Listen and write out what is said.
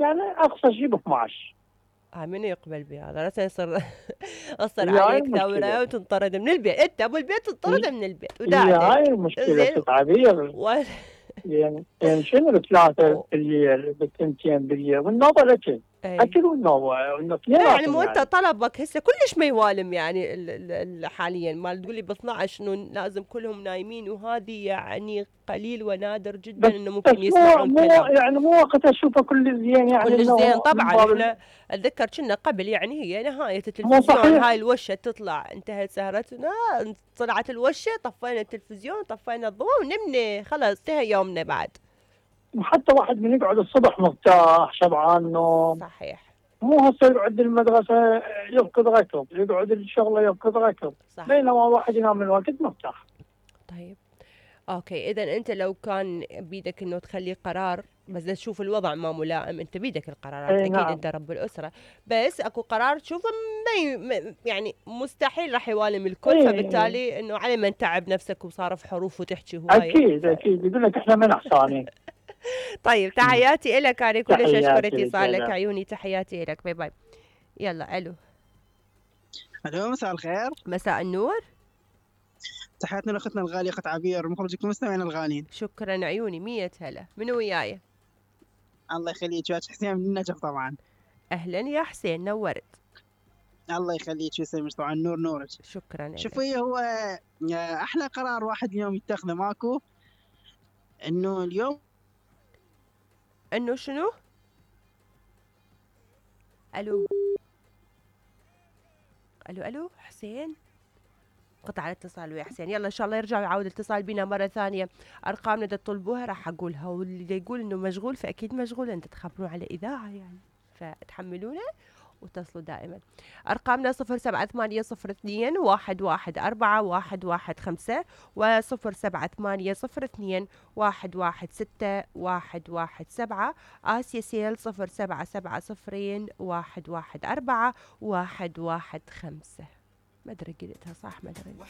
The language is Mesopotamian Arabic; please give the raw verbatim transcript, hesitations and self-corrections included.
يعني اقصى شيء ب اثني عشر. ها من يقبل بهذا؟ لا يصير اصر هي هاي عليك المشكلة، دورة وتنطرد من البيت، انت ابو البيت تنطرد من البيت هي هاي وداعتك. المشكلة زين. ست عبير. و... يعني يعني شنو بثلاثة و... بالليل بالثنتين بالليل والنوبة الاكل، اي اكل والنوبة لا يعني اثنيناتهم مو انت يعني. طلبك هسه كلش ما يوالم يعني ال ال ال حاليا ما تقول لي ب اثني عشر انه لازم كلهم نايمين، وهذه يعني قليل ونادر جدا بس انه بس ممكن مو يسمعون مو كلام. يعني مو وقت اشوفه كل زين يعني كلش زين انه من طبعا. باب ال- احنا اتذكر كنا قبل يعني هي نهاية مو التلفزيون صحيح. هاي الوشة تطلع انتهت سهرتنا، طلعت الوشة طفينا التلفزيون طفينا الضوء ونمنا خلاص انتهى يومنا بعد. وحتى واحد من يقعد الصبح مرتاح شبعان نوم، صحيح. مو هسه يقعد المدرسة يركض ركض، يقعد الشغلة يركض ركض، صح. بينما واحد ينام من الوقت مرتاح. طيب اوكي، اذا انت لو كان بيدك انه تخلي قرار، بس إذا تشوف الوضع ما ملائم، انت بيدك القرارات اي اكيد نعم. انت رب الاسره، بس اكو قرار تشوفه ما ي- ما- يعني مستحيل راح يوالم الكل، اي فبالتالي انه على من تعب نفسك وصار في حروف وتحكي هوايه اكيد ف... اكيد يقول لك احنا من احسانين. طيب تحياتي لك، انا كلش اشكر تحياتي لك اتصالك هلا. عيوني، تحياتي لك، باي باي. يلا الو. الو مساء الخير. مساء النور. تحياتنا لاختنا الغاليه اخت عبير، مخرجك المستمعين الغاليين. شكرا عيوني، مية هلا. منو وياي؟ الله يخليك، وياك حسين من النجف طبعا. اهلا يا حسين، نورت. الله يخليك ويسلمك طبعا، نور نورك. شكرا لك. شوفي هو احلى قرار واحد اليوم يتخذه ماكو، انه اليوم انه شنو؟ الو الو الو حسين، قطع الاتصال ويا حسين. يلا ان شاء الله يرجع ويعاود الاتصال بينا مره ثانيه. ارقامنا اذا تطلبوها راح اقولها، واللي يقول انه مشغول فاكيد مشغول، انت تخبرون على اذاعه يعني، فتحملونا واتصلوا دائما. ارقامنا صفر سبعة ثمانية صفر اثنين واحد واحد أربعة واحد واحد خمسة وصفر سبعة ثمانية صفر اثنين واحد واحد ستة واحد واحد سبعة. آسيا سيل صفر سبعة سبعة صفرين واحد واحد أربعة واحد واحد خمسة. ما ادري قلتها صح ما ادري.